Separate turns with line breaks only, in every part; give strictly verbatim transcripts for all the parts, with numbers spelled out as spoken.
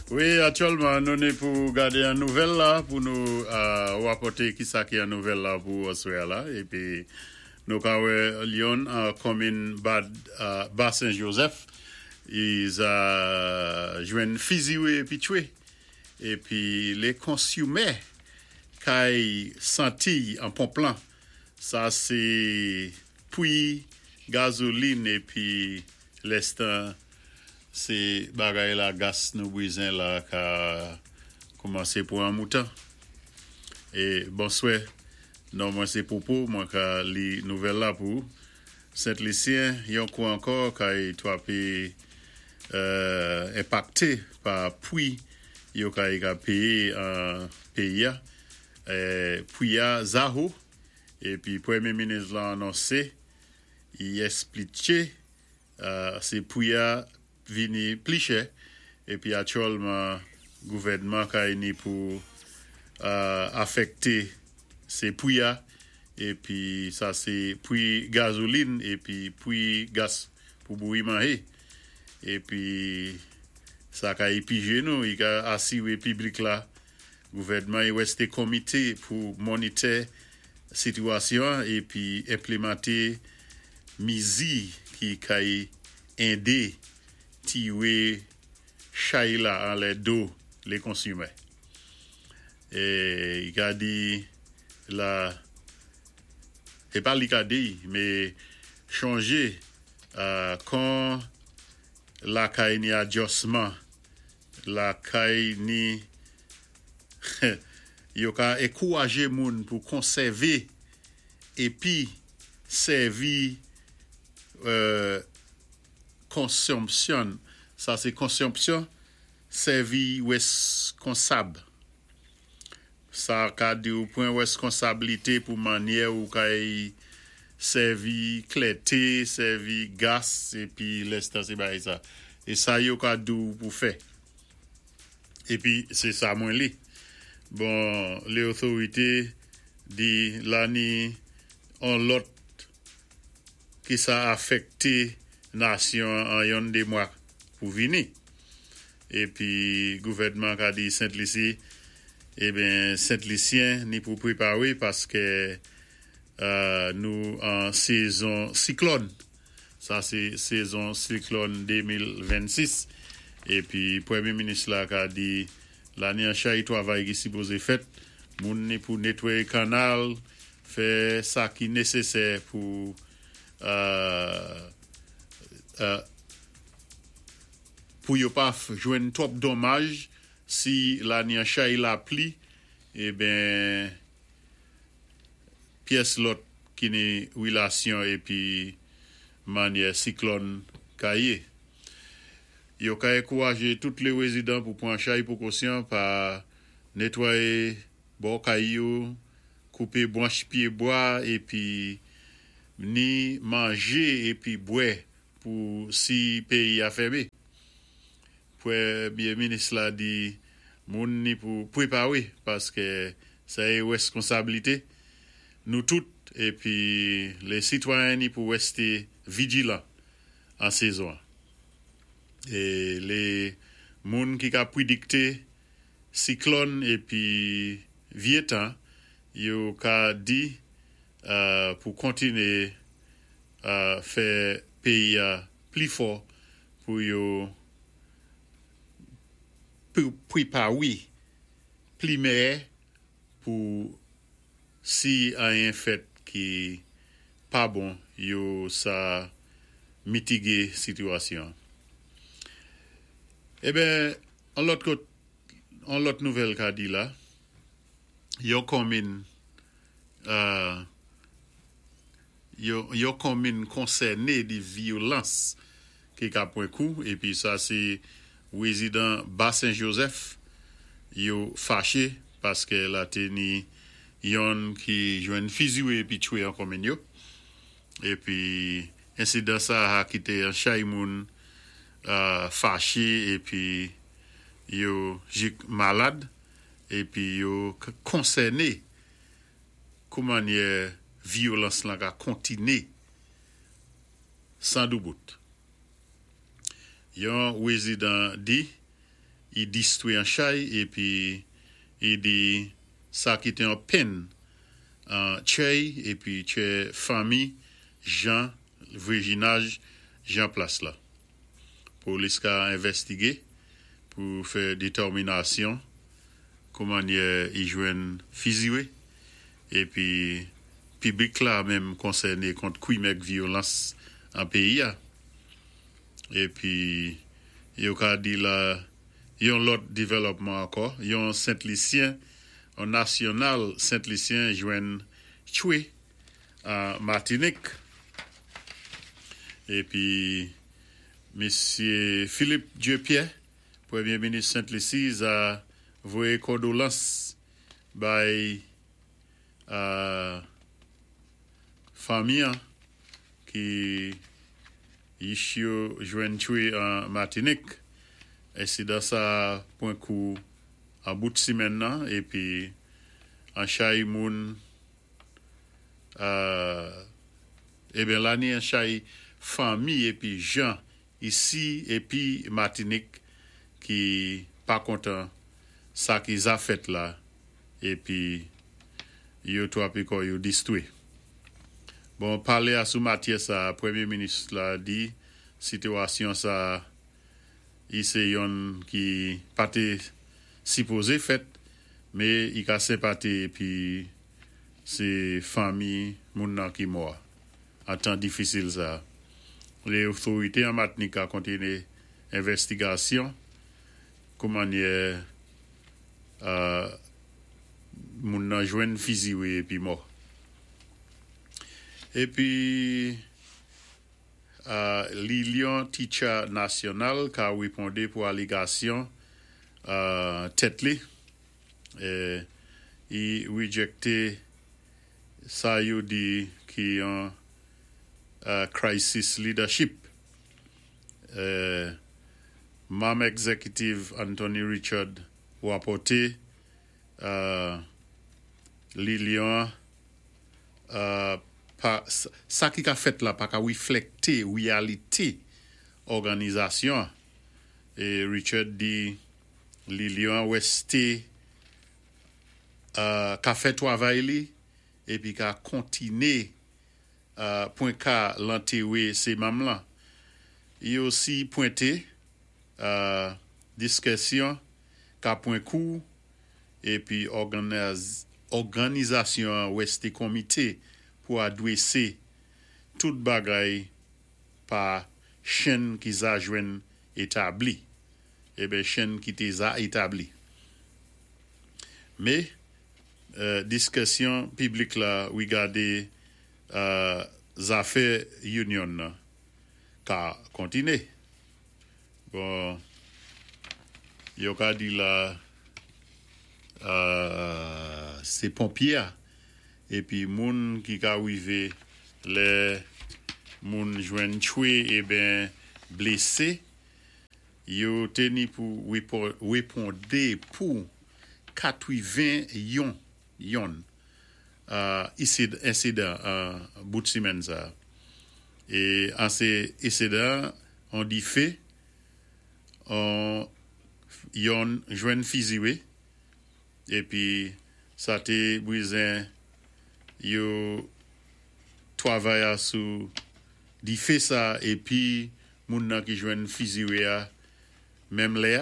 Wi, aktyèlman, nou ni pou gadé an nouvèl la, pou nou euh, wapòté ki sa ki an nouvèl la pou aswè la. Épi, nou ka wè yonn an konminn Bad, euh, Bas-Saint-Joseph, i sa jwenn fiziwé épi twé. Épi, lé konsimè kay santi an ponp lan. Sa sé pwi gazolin épi lèstan sé bagay la gas nou bézwen la ka koumansé pou an moutan. É bonswè, non mwen sé Popo, mwen ka li nouvèl la pou Sent-Lisyen, yon kou ankò kay twapé euh, enpakté pa pwi yo kay ka péyé an péyi a. Euh, pwi a zaho épi pwémyé minis la anonsé i èspliké euh, sé pwi a vini pli chè épi aktyèlman gouvèdman kay ni pou euh, afèkté sé pwi a épi sa sé pwi gazolin épi pwi gas pou bouyi manjé épi sa ka épijé nou i ka asiwé piblik la gouvèdman i wèsté komité pou monitè sitiyasyon épi enplimanté mizi ki kay édé tiwé chay la anlè do lé konsimè. É i ka di la é pa li ka di mé chonjé euh, kan lakay ni adjisman lakay ni yo ka ankourajé moun pou konsèvé épi sèvi euh, konsonmsyon sa sé konsonmsyon sèvi wèskonsab sa ka di ou pwan wèskonsablité pou mannyè ou kay sèvi klèté, sèvi gas épi lèstan sé bagay sa. É sa yo ka di ou pou fè. Épi sé sa mwen li. Bon, lé otorité di la ni an lòt ki sa afèkté nasyon an yon dé mwa pou vini. Épi gouvèdman ka di Sent-Lisi, eben Sent-Lisyen ni pou pwépawé paské euh, nou an sézon siklòn. Sa sé sézon siklòn de mil vennsis. Épi pwémyé minis la ka di la ni an chay twavay ki sipozé fèt, moun ni pou netwayé kanal, fè sa ki nésésè pou euh, euh, pou yo pa jwenn twòp donmaj si la ni an chay lapli eben pyès lòt ki ni wilasyon épi mannyè siklòn ka yé. Yo ka ankourajé tout lé wézidan pou pwan chay pwékosyon pa netwayé bò kay yo, koupé branch pyé bwa épi ni manjé épi bwè pou si péyi a fèmé. Pwémyé minis la di moun ni pou pwépawé paské sa é wèskonsablité nou tout épi lé sitwayen ni pou wèsté vijilan an sézon. É lé moun ki ka pwédikté siklòn épi vyé tan yo ka di euh, pou kontiné euh, fè péyi a pli fò pou yo pwépawé pli mèyè pou si anyen fèt ki pa bon yo sa mitigé sitiyasyon. Eben, an lòt kot, an lòt nouvèl ka di la, yo konminn euh, yo, yo konminn konsèné di vyolans ki ka pwan kou épi sa sé wézidan Bas-Saint-Joseph yo faché paské la té ni yonn ki jwenn fiziwé épi twé an konminn yo. Épi ensidan sa a kité an chay moun euh, faché épi yo jik malad épi yo konsèné kou mannyè vyolans lan ka kontiné san doubout. Yon wézidan di I distwé an chay épi i di sa kité an penn an tchèy épi tchè fanmi jan vwazinaj jan plas la. Polis ka envèstigé pou fè détèminasyon koumannyè i jwenn fiziwé épi piblik la menm konsèné kont kwim èk vyolans an péyi-a. Épi yo ka di la yon lòt dévlòpman ankò, yon Sent-Lisyen, an nasyonal Sent-Lisyen jwenn tchwé an Matinik. Épi Misyé Philippe Dieu-Pierre, Pwémyé Minis Sent-Lisi, a voyé kondolans bay euh, fanmi ki yich yo jwenn tchwé an Matinik. Ensidan sa pwan kou an bout simenn nan épi an chay moun euh, ébyen la ni an chay fanmi épi jan isi épi Matinik ki pa kontan sa ki za fèt la épi yo twapé kò yo distwé. Bon, palé a sou matyè sa, Pwémyé Minis la di sitwasyon sa i sé yonn ki pa té sipozé fèt, mé i ka senpati épi sé fanmi moun nan ki mò. An tan difisil sa. Lé otorité an Matinik ka kontiné envèstigasyon koumannyè euh, moun nan jwenn fiziwé épi mò. Épi euh, Linyon Teacher Nasyonal ka wépondé pou alégasyon euh, tèt li é i wijékté sa yo di ki yon euh, crisis leadership. Euh, Manm Executive Anthony Richard wapòté euh, linyon euh, pa, sa ki ka fèt la pa ka wiflèkté wéyalité òganizasyon. É Richard di linyon wèsté euh, ka fè twavay li épi ka kontiné euh, pwen ka lantéré sé manm lan. I osi pwenté euh, diskisyon ka pwan kou épi òganiz, òganizasyon wèsté komité pou adwésé tout bagay pa chenn ki za jwenn établi. Ében chenn ki té za établi. Mé euh, diskisyon piblik la wigadé euh, zafè union nan ka kontiné. Bon, yo ka di la euh, sé ponpyé épi moun ki ka wivé lè moun jwenn tchwé ében blésé yo té ni pou wépondé pou katwiven-yon yon euh, ensidan euh, bout simenn sa. É an sé ensidan an difé an yon jwenn fiziwé épi sa té bwézen yo twavay sou difé sa épi moun nan ki jwenn fiziwé a menm lè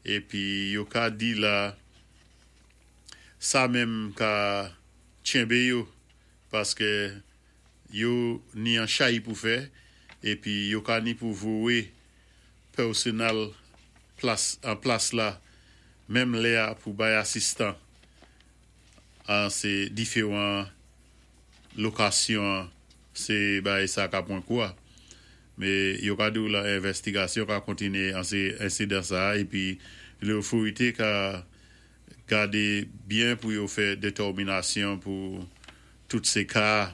épi yo ka di la sa menm ka tchenbé yo paské yo ni an chay pou fè épi yo ka ni pou voyé pèsonèl plas an plas la menm lè pou bay asistan an sé diféwan lokasyon sé bay sa ka pwan kou a. Mé yo ka di la envèstigasyon ka kontiné an sé ensidan sa épi lótorité ka gadé byen pou yo fè détèminasyon pou tout sé ka.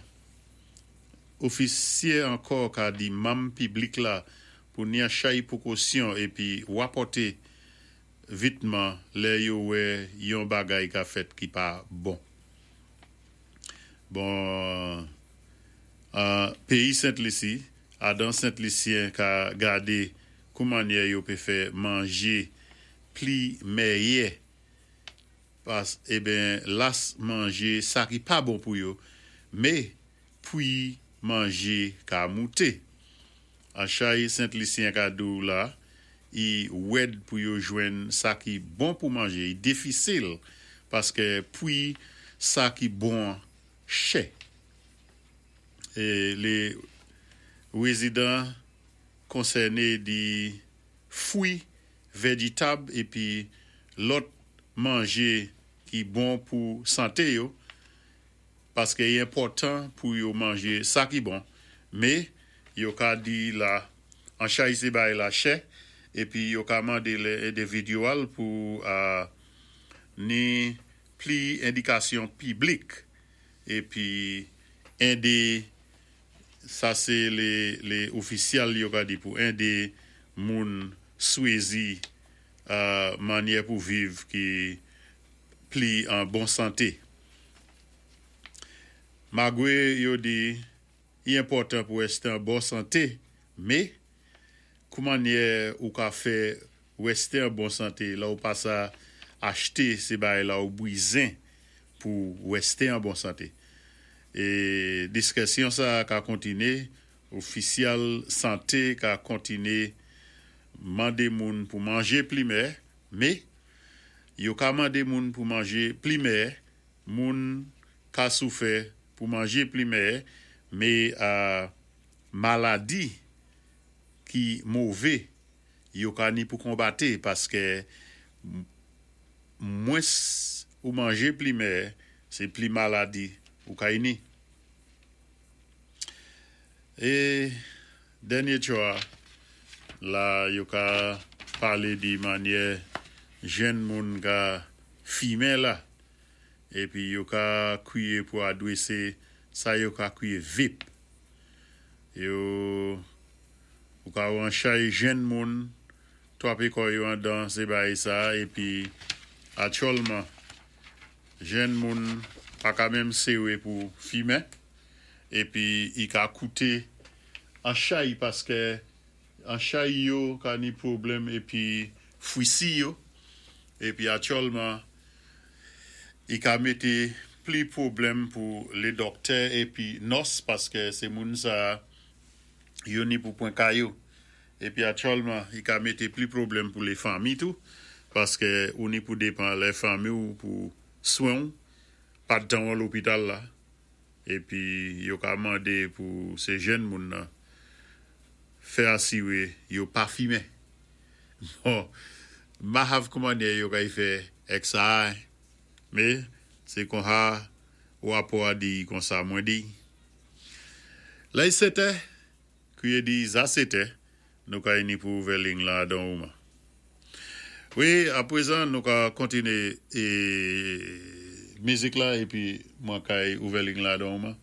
Ofisyé ankò ka di manm piblik la pou ni an chay pwékosyon épi wapòté vitman lè yo wè yon bagay ka fèt ki pa bon. Bon, euh, péyi Sent-Lisi, adan Sent-Lisyen ka gadé koumannyè yo pé fè manjé Pli méyè pas ében las manjé sa ki pa bon pou yo, mé pwi manjé ka mouté. An chay Sent-Lisyen ka di-w la, i wèd pou yo jwenn sa ki bon pou manjé, i difisil paské pwi sa ki bon chè. É lé wézidan konsèné di fwi, véjitab épi lòt manjé ki bon pou santé yo, paské i enpòtan pou yo manjé sa ki bon, mé yo ka di la an chay sé bay la chè épi yo ka mandé lé endividyèl pou euh, ni pli édikasyon piblik épi édé sa sé lé lé ofisyèl yo ka di pou édé moun swézi euh, mannyè pou viv ki pli an bon santé. Magwé yo di i enpòtan pou wèsté an bon santé, mé koumannyè ou ka fè wèsté an bon santé la ou pa sa achté sé bay la ou bwizen pou wèsté an bon santé. É diskisyon sa ka kontiné, ofisyèl santé ka kontiné mandé moun pou manjé pli mè, mé yo ka mandé moun pou manjé pli mè, moun ka soufè pou manjé pli mè, mé euh, maladi ki mové yo ka ni pou konbaté paské mwens ou manjé pli mè, sé pli maladi ou ka ni. É dènyé twa la yo ka palé di mannyè jenn moun ka fimen la épi yo ka kwiyé pou adwésé sa yo ka kwiyé vape. Yo ou ka wè an chay jenn moun twapé kò yo andan sé bay sa épi aktyèlman jenn moun pa ka menm séwé pou fimen épi i ka kouté an chay paské an chay yo ka ni pwoblèm épi fwisi yo épi aktyèlman i ka mété pli pwoblèm pou lé dòktè épi nòs paské sé moun sa yo ni pou pwan ka yo. Épi aktyèlman i ka mété pli pwoblèm pou lé fanmi tou paské ou ni pou dépan lé fanmi ou pou swen ou, pandan ou lopital la épi yo ka mandé pou sé jenn moun nan fè asiwé yo pa fimen. Bon, ma hav koumannyè yo kay fè èk sa, mé sé konsa wapò a di konsa mwen di. La i setè, kwié di za setè, nou ka ni pou ouvè ling la dan ouman. Wi, apwézan nou ka kontiné é mizik la épi mwen kay ouvè ling la dan ouman.